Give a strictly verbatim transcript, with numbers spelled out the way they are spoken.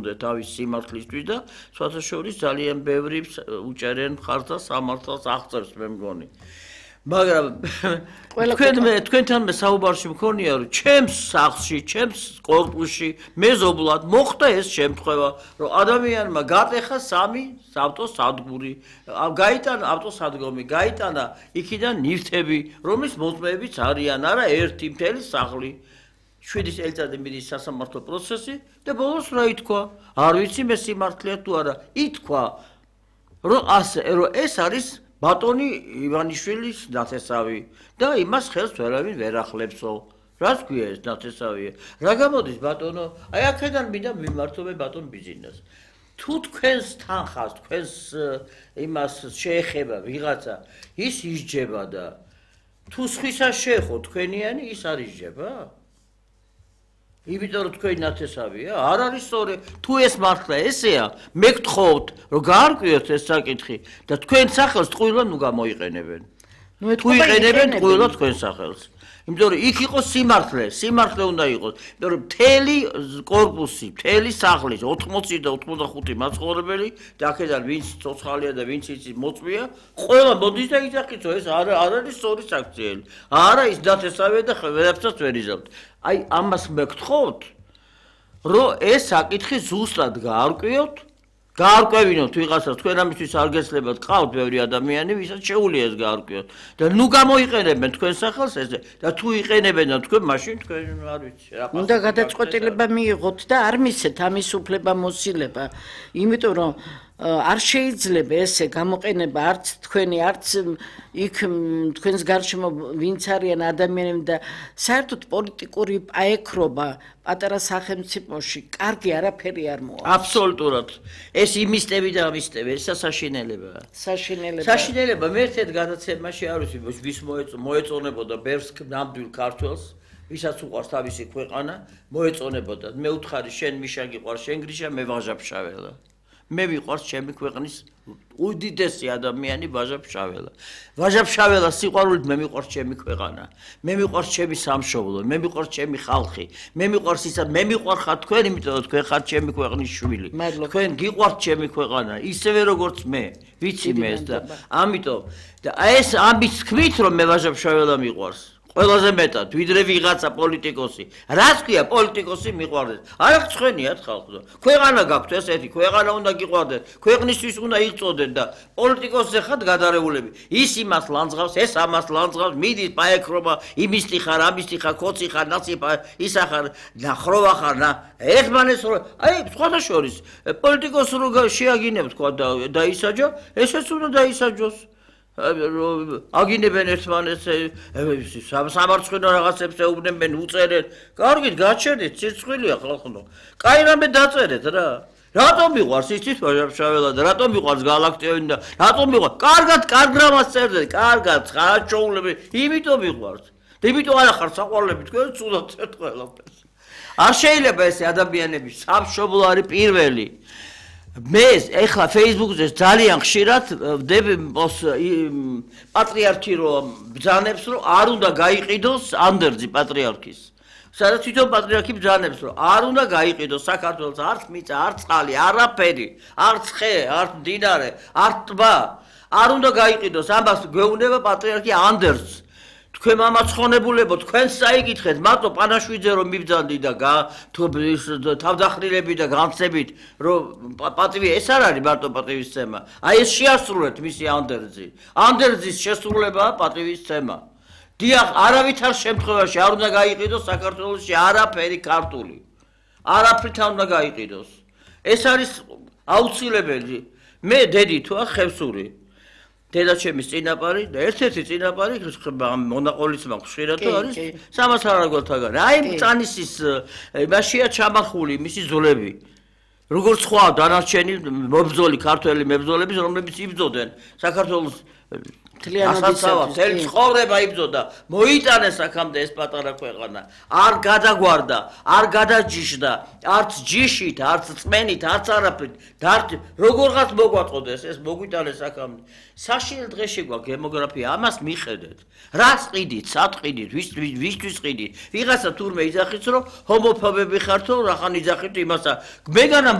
დაუბრუნდეთ თავის სიმართლისთვის და სხვათა შორის ძალიან ბევრი უჭერენ მხარს და სამართალს აღწერს მე მგონი. მაგრამ თქვენ მე თქვენთან მე საუბარში მქონია რომ ჩემს სახლში, ჩემს კორპუსში მეზობლად მოხდა ეს შემთხვევა, რომ ადამიანმა გატეხა სამი ავტოსადგური, გაიტანა ავტოსადგომი, გაიტანა იქიდან ნივთები, რომლის მოწმეებიც არიან, არა ერთი მთელი სახლი. შვიდი წელიწადი მიდის სასამართლო პროცესი და ბოლოს რა ითქვა? არ ვიცი მე სიმართლეა თუ არა. ითქვა რომ ასე რომ ეს არის ბატონი ივანიშვილის ნათესავი და იმას ხელს ვერავინ ვერ ახლებსო. რას ქვია ეს ნათესავია? რა გამოდის ბატონო? აი აქედან მინდა მიმართო მე ბატონ ბიზნესს. თუ თქვენს თანხას, თქვენს იმას შეეხება ვიღაცა, ის ისჯება და თუ სხვისა შეეხო თქვენიანი ის არ ისჯება? იმიტომ რომ თქვენი ნათესავია, არ არის სწორი. თუ ეს მართლა ესეა, მე გთხოვთ, რომ გაარკვიოთ ეს საკითხი და თქვენ სახელს ტყუილად ნუ გამოიყენებენ. თუ იყენებენ ტყუილად თქვენ სახელს. იმიტომ რომ იქ იყოს სიმართლე, სიმართლე უნდა იყოს. იმიტომ რომ მთელი კორპუსი, მთელი სახლის ოთხმოცი და ოცდახუთი მაცხოვრებელი და აქედან ვინც ცოცხალია და ვინც იცის მოწვია, ყველა მოდის და იზახიცო, ეს არ არის სწორი საქციელი. არა ის ნათესავია და ვერაფერს ვერ იზამთ. აი ამას მე გთხოვთ, რომ ეს საკითხი ზუსტად გაარკვიოთ, გაარკვევინოთ ვიღაცას, თქვენ ამისთვის არ გეცლებათ, ყავთ ბევრი ადამიანი, ვისაც შეუძლია ეს გაარკვიოთ. და ნუ გამოიყენებენ თქვენ სახელს ესე და თუ იყენებენ და თქვენ მაშინ თქვენ არ ვიცი რა. უნდა გადაწყვეტილება მიიღოთ და არ მისცეთ ამის უფლება მოსილება, იმიტომ რომ არ შეიძლება ესე გამოყენება არც თქვენი არც იქ თქვენს გარშემო ვინც არიან ადამიანები და საერთოდ პოლიტიკური პაექრობა პატარა სახელმწიფოში კარგი არაფერი არ მოაქვს. აბსოლუტურად. ეს იმისტები და ამისტები, ეს საშინელებაა. საშინელება. საშინელება მე ერთ გადაცემაში არ ვიცი ვის მოეწონებოდა ბევრს ნამდვილ ქართველს, ვისაც უყვარს თავისი ქვეყანა, მოეწონებოდა. მე უთხარი შენ მიშა გიყვარს, შენ გრიშა, მე ვაჟა-ფშაველა. მე მიყვარს ჩემი ქვეყნის უდიდესი ადამიანი ვაჟა-ფშაველა. ვაჟა-ფშაველას სიყვარულით მე მიყვარს ჩემი ქვეყანა. მე მიყვარს ჩემი სამშობლო, მე მიყვარს ჩემი ხალხი. მე მიყვარს ისა, მე მიყვარხარ თქვენ, იმიტომ რომ თქვენ ხართ ჩემი ქვეყნის შვილი. თქვენ გიყვართ ჩემი ქვეყანა, ისევე როგორც მე. ვიცი მე ეს და ამიტომ და ეს ამის თქმით რომ მე ვაჟა-ფშაველა მიყვარს. ყველაზე მეტად, ვიდრე ვიღაცა პოლიტიკოსი. რას ქვია პოლიტიკოსი მიყვარდეს? არა ცხენიათ ხალხო. ქვეყანა გაქვთ ესეთი, ქვეყანა უნდა გიყვარდეს, ქვეყნისთვის უნდა იღწოდეთ და პოლიტიკოსზე ხართ გადარეულები. ის იმას ლანძღავს, ეს ამას ლანძღავს, მიდის პაექრობა, იმისტი ხარ, ამისტი ხარ, ქოცი ხარ, ნაცი ხარ, ისა ხარ, ნახროვა ხარ, ნა. ერთმანეთს რო, აი, სხვათა შორის, პოლიტიკოსი რო შეაგინებ თქვა და დაისაჯა, ესეც უნდა დაისაჯოს. აგინებენ ერთმანეთს სამარცხვინო რაღაცებს ეუბნებენ უწერენ კარგით გაჩერდით ცირცხვილია ხალხო კაი რამე დაწერეთ რა რატომ მიყვარს იცით ვაჟა-ფშაველა და რატომ მიყვარს გალაქტიონი და რატომ მიყვარს კარგად კარგ რამას წერდეთ კარგად ხარაჩოულები იმიტომ მიყვარს და იმიტომ არ ახარ საყვარლები თქვენ ცუდად წერთ ყველაფერს არ შეიძლება ესე ადამიანები სამშობლო არის პირველი მე ეხლა Facebook-ზე ძალიან ხშირად ვდები პატრიარქი რომ ბრძანებს რომ არ უნდა გაიყიდოს ანდერძი პატრიარქის. სადაც თვითონ პატრიარქი ბრძანებს რომ არ უნდა გაიყიდოს საქართველოს არც მიწა, არც წყალი, არაფერი, არც ხე, არც მდინარე, არც ტბა. არ უნდა გაიყიდოს ამას გვეუბნება პატრიარქი ანდერძს. თქვენ მამაცხონებულებო თქვენს საიკითხეთ მარტო პანაშვიძე რომ მიბძანდი და თავდახრილები და განცდებით რომ პატივი ეს არ არის მარტო პატივისცემა აი ეს შეასრულეთ მისი ანდერძი ანდერძის შესრულებაა პატივისცემა დიახ არავითარ შემთხვევაში არ უნდა გაიყიდოს საქართველოში არაფერი ქართული არაფრით არ უნდა გაიყიდოს ეს არის აუცილებელი მე დედი თუ ხევსური დედაჩემის წინაპარი და ერთ-ერთი წინაპარი მონაყოლიც მაქვს ხშირად არის სამას არაგველთაგან აი მწანისის იმაშია ჩამახული მისი ძვლები როგორც სხვა დანარჩენი მებრძოლი ქართველი მებრძოლები რომლებიც იბრძოდნენ საქართველოს თლიანობისათვის ცხოვრება იბრძოდა მოიტანეს აქამდე ეს პატარა ქვეყანა არ გადაგვარდა არ გადაჯიშდა არც ჯიშით არც წმენით არც არაფრით დარჩი როგორღაც მოგვაწოდეს ეს მოგვიტანეს აქამდე საშინელ დღეში გვაქვს დემოგრაფია ამას მიხედეთ რას ყიდით სად ყიდით ვისთვის ყიდით ვიღაცა თურმე იძახით რომ ჰომოფობები ხართო რახან იძახით იმასა მეგანა